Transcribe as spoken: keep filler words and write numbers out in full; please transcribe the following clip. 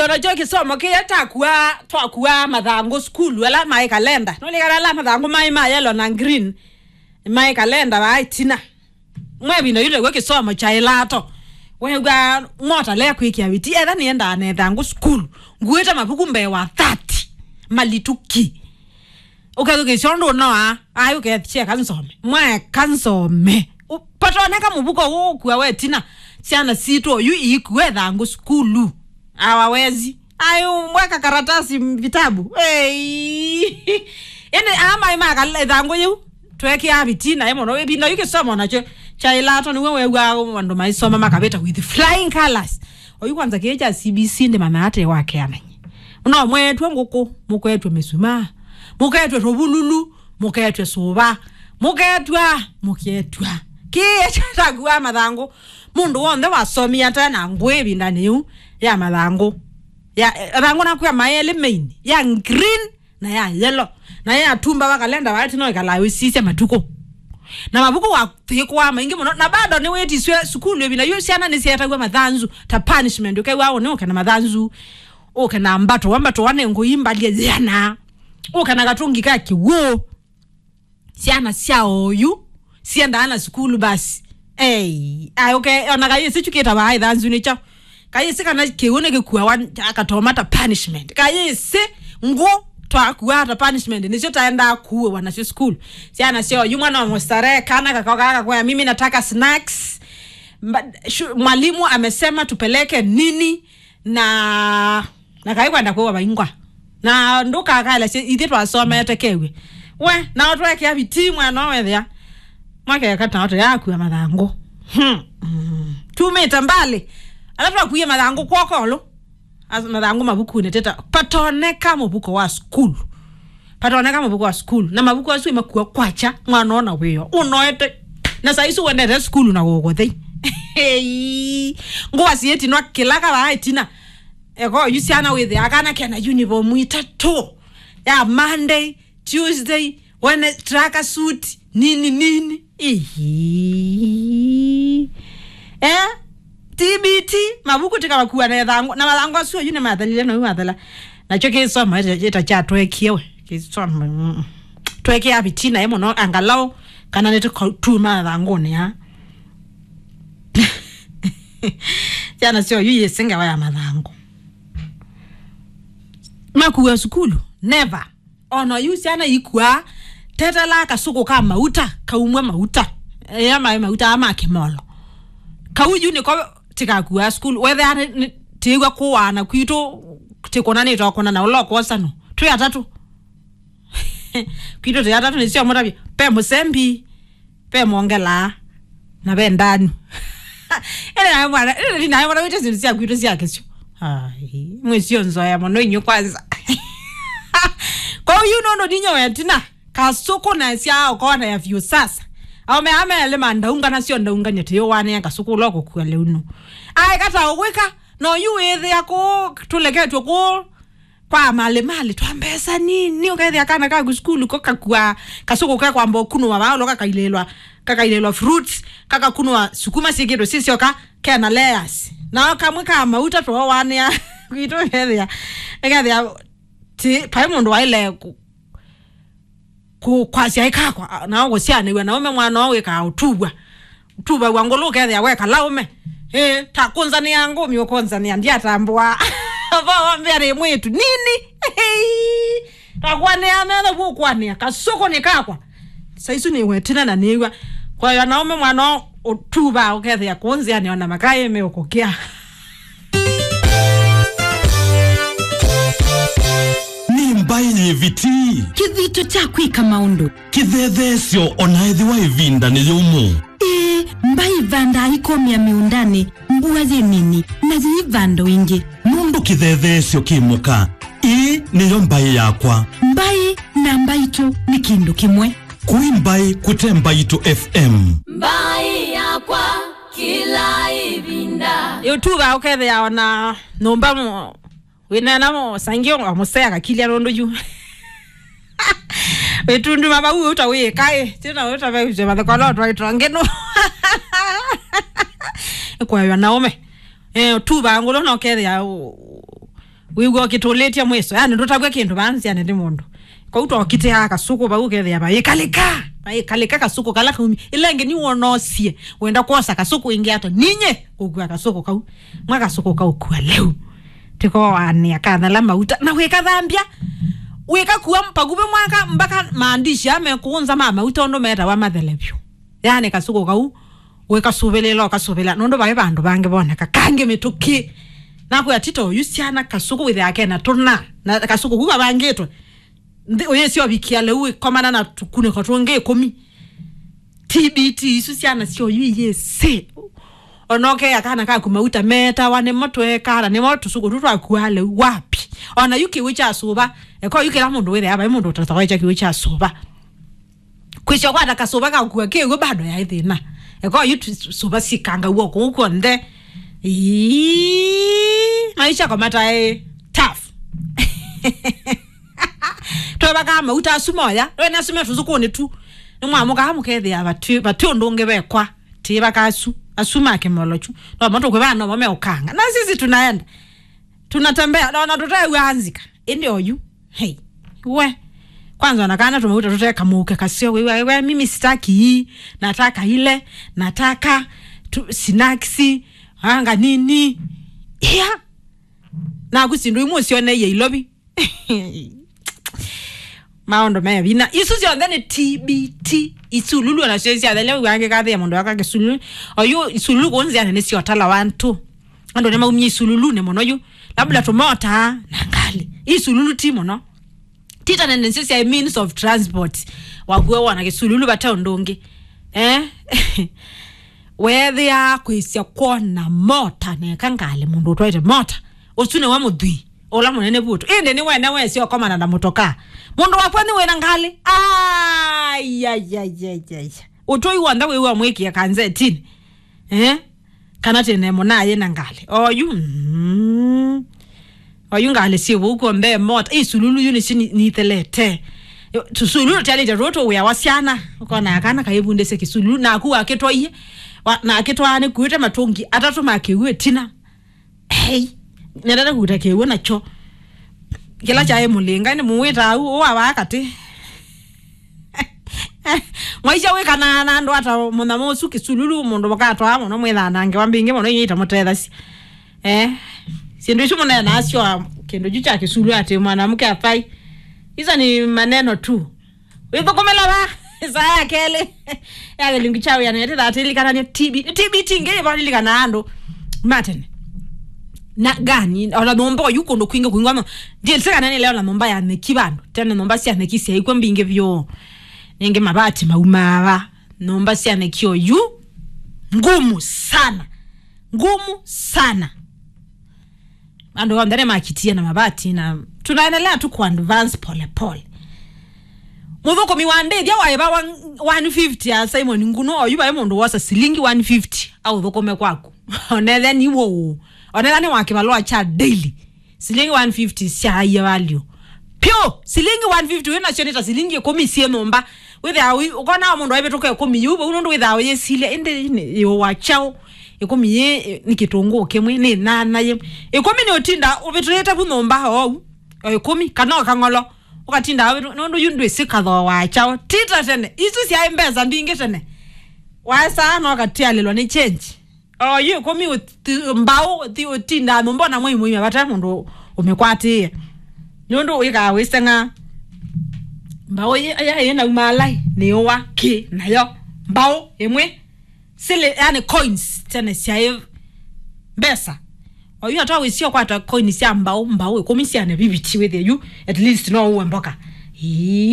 Nakyo kĩsomo kĩya takua, twakua mathangũ sukulu, ala maĩ kalenda. Nũlikana ala mathangũ maĩ ma yellow na green, maĩ kalenda wa ĩtina. Mwe ĩvinda yu nĩw'o kĩsomo kya ĩlato. Wew'a mota lea kwĩkĩa viti, etha nĩendaa na ĩthangũ sukulu. Nguĩte mavuku mbee wa thirty. Malituki. Ũkethukĩsya ũndũ ũnoa, ai ũkethya kansome. Mwae kansome. U-, patoneka mũvuko ũũ ũkua wetina. Syana sitũ oyu iikua ĩthangũ sukulu. Awawezi. Ai, mweka karatasi m-, vitabu. Ei. Ĩndĩ aa maĩ makala ĩthangũ yĩu. Twekeaa vitina ĩ mũno. Ĩvinda yu kĩsomo nakyo kya ĩlato nĩw'o wew'aa andũ maisoma makavĩta with flying colors. Oyu kwanza kĩĩ kya C B C ndĩmanaa ate wakeanany'e. No mwetwe ngũkũ, mũketwe mĩsumaa, mũketwe tũvululu, mũketwe sũva, mũketwa, mũketwa. Kĩĩ kyatakuaa mathangũ. Mũndũ w'onthe wasomie ate na ngũĩ ĩvindanĩ yĩu ya mathangũ. Ya, eh, mathangũ nakwĩa maĩ elĩ main, ya green na ya yellow. Na ya tumba wa kalenda waĩ tino ĩkalaa wĩsisya matukũ. Na mavuku wathĩkũaa maingĩ mũno. Na bado nĩwĩtiswe sukulu ĩvinda yu syana nĩsyeetaw'a mathanzu ta punishment. Ũkew'a ũnĩ ũke na mathanzu. Ũke na mbato, wa mbato wane ngũi mbalie yĩana. Ũke na katungi ka kĩw'ũ. Syana sya oyu siendaa na sukulu basi. Ei, ai, okay, ona kaĩ ĩsĩ kyu kĩtavaa ĩthanzu nĩkyo. Kaĩ ĩsĩ kana kĩw'ũ nĩkĩkuawa akatoma ta punishment. Kaĩ ĩsĩ ngũ twakuaa ta punishment, nĩsyo taendaa kuũwa nasyo sukulu. Syana sya oyu mwana wa mũstarehe, kana kakao kaka kakwĩa, "Mimi nataka snacks." Mba-, shu-, mwalimu amesema tupeleke nini? Na, na kaĩ kwenda kwĩwa vaingwa. Na ndũkakalasye, ithyĩ twasomete kew'e. We, nao twekĩa vitii mwana wethĩa. Makeka nao tũyakua mathangũ. Hmm. Mm. Tumĩte mbali. Ala twakuie mathangũ kwokolo. As-, mathangũ mavukunĩ teta. Patoneka mũvuko wa sukulu. Patoneka mavuku wa sukulu. Na mavuku asu imakua kwakya, mwana ona wĩo. Ũnoete. Na saa isu wendete sukulu na gũkũthei. Hei. Ngũa siĩtinwa kĩla kavaa ĩtina. Eko yu syana wĩthĩa kana kena uniform itatũ. Ya Monday, Tuesday, Wednesday, track suit, nini, nini. Ihi. Eh? T B T, mavuku tikavakua na ĩthangũ. Na mathangũ asu oyu nĩmathelile na ũyu wathela. Nakyo kĩsomo ĩta, ĩta kyatwekie we. Kĩsomo, mm. Twekea vitina ĩ mũno, angalau, kana nĩtũkatuma mathangũnĩ ya. Syana syo yu yĩsĩ ngewa ya mathangũ. Makua sukulu? Never. Ona yu syana ikuaa, tetela kasũkũ ka mauta, kaumwe mauta. Ea maĩ mauta aa ma kĩmolo. Kau yu nĩko tĩkakuaa sukulu. Wethĩa nĩ, nĩ, tĩĩw'a kũaana kwitũ, tĩkũnanĩte o kũnana ũla ũkwosa no. Twĩ atatũ. Kwitũ twĩ atatũ nĩsyo mũtavya. Pe mũsembi. Ve mwongelaa, na ve ndanu. Ĩndĩ nawe mwana, ĩndĩ nawe mwana wĩte syĩndũ sya kwitũ sya kĩsyo. Ai, mwĩsio nzoya mũno inyu kwanza. Kwa hiyo nono ninyo wetina, kasũkũ na sya ũkona ya vyũ sasa. Aume ame ele mandaunga nasyo ndaungania tĩyo wane ya kasũkũ loko kwa leuno. Ai kata ũgwĩka, no yu wĩthĩa kũ, tũleketwe kũ, kwa mali mali twa mbesa nini, ũkethĩa kana kaku sukulu ko kakua kasũkũ ke kwamba ũkunũwa vaũlo kakailĩlwa, kakailĩlwa fruits, kakakunũwa sukuma syĩkĩtwe sisyoka, kena layers. Nao kamwe ka mauta twowanĩa kwitũ, ũkethĩa, ũkethĩa ti, vai mũndũ waile ku-, kũ-, kwasya ĩkakwa, nao kũsyanĩw'a na ũme mwana ũũ wĩkaa ũtuvwa. Ũtuvaw'a ngũlũ ũkethĩa wekala ũme. Ĩĩ, ta kũnzanĩa ngũmi ũkũnzanĩa, ndyatambũa. Vo wambĩa nĩ mwĩtu. Nini? Takwanĩa metha vu ũkwanĩa. Kasũkũ nĩ kakwa. Saisu nĩ wetina na nĩw'a. Kwa hiyo na ũme mwana ũũ ũtuvaa ũkethĩa kũnzĩanĩa ona makaĩ me ũkũkĩa. Nĩ mbaĩ yĩ viti. Kĩthito kya kwĩka maũndũ. Kĩthetheesyo o na ethĩwa ĩvinda nĩ yũmũ. Ĩĩ, mbaĩ ĩvandaa ikomĩa mĩũndanĩ, mbua yĩ nini, na yĩivanda o ĩngĩ. Nũndũ kĩthetheesyo kĩ mũka, ĩĩ nĩyo mbaĩ yakwa. Mbaĩ na mbaitũ nĩ kĩndũ kĩmwe. Kũi mbaĩ kũte Mbaitũ F M. Mbaĩ yakwa kĩla ĩvinda. Ĩũtuva ũkethĩa ona nyũmba mo-, wĩneena mo-, sangi wa mũsea kakilya nũndũ yu. Wĩtunduma vau ũta wĩkaĩ. Tena ũta vaĩtwe mathekolo twaitwa ngeno. Ĩkwaĩwa na ũme. Eh, ũtuva ngũlũ na ũkethĩa ũ-, Wĩw'a ũkĩtũlĩtye mwĩso, yani ndũtavw'a kĩndũ vaa nzĩanĩ nĩ mũndũ. Kau tokitĩaa kasũkũ vau, ũkethĩa vaĩkalĩka, vaĩkalĩka kasũkũ kala kaumi. Ĩla ĩngĩ nĩwona ũsie, wenda kwosa kasũkũ ĩngĩ ata, ninye kũkua kasũkũ kau. Mwa kasũkũ kaũkua lĩu. Tĩkoanĩa kathela mauta, na wĩkathambya, wĩkakua pakuvĩ mwaka, mpaka maandishi amekũũnza ma mauta ũndũ metawa mathele vyũ. Yani kasũkũ kau, wĩkasũvĩlĩla, ũkasũvĩlĩla, nũndũ vaĩ vandũ vangĩ voneka kangĩ mĩtũkĩ. Nakwĩa tito oyu syana kasũkũ wĩthĩa kena tũna, na kasũkũ ku kavangĩtwe. Nthĩ ũyĩsyovikia lĩu ĩkomana na tũkunĩko tũngĩ ĩkũmi. T B T isu syana syoyu iyĩsĩ. Ona ũkea kana kaku mauta metawa nĩmo tweka, na nĩmo tũsũkũ tũ twakuaa lĩu wapi? Ona yu kĩw'ũ kya sũva, eko yu kĩla mũndũ wĩthĩa vai mũndũ ũtathawaĩkya kĩw'ũ kya sũva. Kwĩsya kwata kasũva kakua kĩw'ũ bado yaĩ thĩna. Eko yu tu-, sũva sikangaw'a kũu kw'onthe. Ii, maisha kwa mataĩ tough. Twevakaa mauta asu moya, wene asu me tũsũkũnĩ tu. Nĩmwamũkaa mũkethĩa vati, vati ũndũ ũngĩ vekwa. Tĩvaka asu, asu ma kĩmolo kyu. No mo tũkwĩvaa no mo meũkanga. Na sisi tunaenda. Tunatembea, na ona tũteew'a nzika. Ĩndĩ oyu. Hey. We. Kwanza ona kana tũmauta tũteka mũuke kaseo. We, we, we, mimi sitaki hii. Nataka ile. Nataka tu, snacks. Anga nini? Yeah. Naku sindu imwe ũsyoneiye ilovi. Maũndũ me vinya. Isu syonthe nĩ T B T. Isululu ona syo syathelia wangĩ kathĩa mũndũ aka kĩsululu. Oyu isululu kũnzĩanĩ nĩ syotala wantu. Andũ nĩmaumie isululunĩ mũno yu. Labda tũmota na ngalĩ. Isululu ti mũno. Tita nene nĩsyo sya means of transport. Wakuwa wona kĩsululu vate ũndũ ũngĩ. Eh? Weethĩa kwĩsya kwona mota neka ngalĩ mũndũ ũtwaĩte mota. Ũsu nĩwe mũthwii. Ũla mũnene vu ũtũ. Ĩndĩ nĩ wene wesĩ ũkomana na mũtokaa. Mũndũ wakwa nĩ wĩna ngalĩ. Ai, ai, ai, ai, ai. Ũtũi w'onthe wĩw'a mwĩkĩe kanzetinĩ. Eh? Kana tene mũnaye na ngalĩ. Oyu, mm. Oyu ngalĩ syĩ vau kw'onthe mota. Ĩ sululu yu nĩsyo ni-, nithelete. Sululu tyaĩlĩte rũtũ wĩa wa syana. Ũkona kana kaĩvundĩsye kĩsululu. Naku wakĩtwaie. Wa, nakĩtwaa nĩkuĩte matũngi atatũ ma kĩw'ũ ĩtina. Hey, nendete kũuta kĩw'ũ nakyo. Kĩla kyaĩ mũlĩnga, nĩ mũwĩta au, ũwa vaa katĩ. Mwaisya wĩkanaa na andũ ata mũnyamũ ũsu kĩsululu, mũndũ mũkatwaa mũno mwĩthanange wa mbingĩ mũno inyita mũtethasya. Eh, syĩndũ isu mũneenaa syo kĩndũ kyu kya kĩsululu atĩ mwanamke afai. Hizo ni maneno tu. Wĩthũkũmĩla va? Saa ya kelĩ ya kĩlungu kya wĩanĩo tĩthaa tĩlikanany'e T B T. T B T ngĩ yĩva lilikana andũ matene. Na gani, ona nyũmba oyu kũndũ kwingĩ kwingwa mo. Ndiĩlĩte kana nĩ leo na nyũmba ya nyeki vandũ. Tene nyũmba sya nyeki syaikwa mbingĩ vyũ. Ningĩ mabati maumaa va. Nyũmba sya nyeki oyu ngumu sana. Ngumu sana. Andũ onthe nĩmakitie na mabati na tunaendelea tu ku advance pole pole. Mũthũkũmi wa ndĩthya waĩva one fifty ya Simon Nguno, oyu vaĩ mũndũ wosa silingi one fifty aũthũkũme kwaku. Onethe nĩ wũũ. Onetha nĩ wa kĩvalũa kya daily. Silingi one fifty syaie value. Pyo, silingi one fifty wĩ nasyo nĩ ta silingi ĩkũmi syĩ nyũmba. Wĩthĩawa ũi-, ũkona mũndũ aivĩtũka ĩkũmi yĩu vau nũndũ wĩthĩawa ũyĩsilya, ĩndĩ nĩ yĩũwa kyaũ? Ĩkũmi yĩ, ĩ, nĩ kĩtũngũũ kĩmwe, nĩ nyanya yĩmwe. Ĩkũmi nĩ ũtinda ũvĩtũlĩte vu nyũmba oou, o ĩkũmi, kana o kang'olo, ũkatinda ũvĩtũ-, nũndũ yu ndwĩsĩ kathooa kyaũ. Ti ta tene, isu syaĩ mbesa mbingĩ tene. Waesaa no ũkatialĩlwa nĩ change. O yu ĩkũmi ũti-, mbaũ ũti-, ũtindaa nyũmba ona mwei mũima vate mũndũ ũmĩkwatĩĩe. Nũndũ wĩkaa wĩseng'aa. Mbaũ yĩ, ya, yĩ nauma alai, nĩũwa kĩ nayo. Mbaũ ĩmwe, silĩ, yani coins, tene syaĩ mbesa. O yu atwa wĩsio kwata coins sya mbaũ, mbaũ ĩkũmi sya neviviti wĩthĩe yu, at least no ũwe mboka. Ii.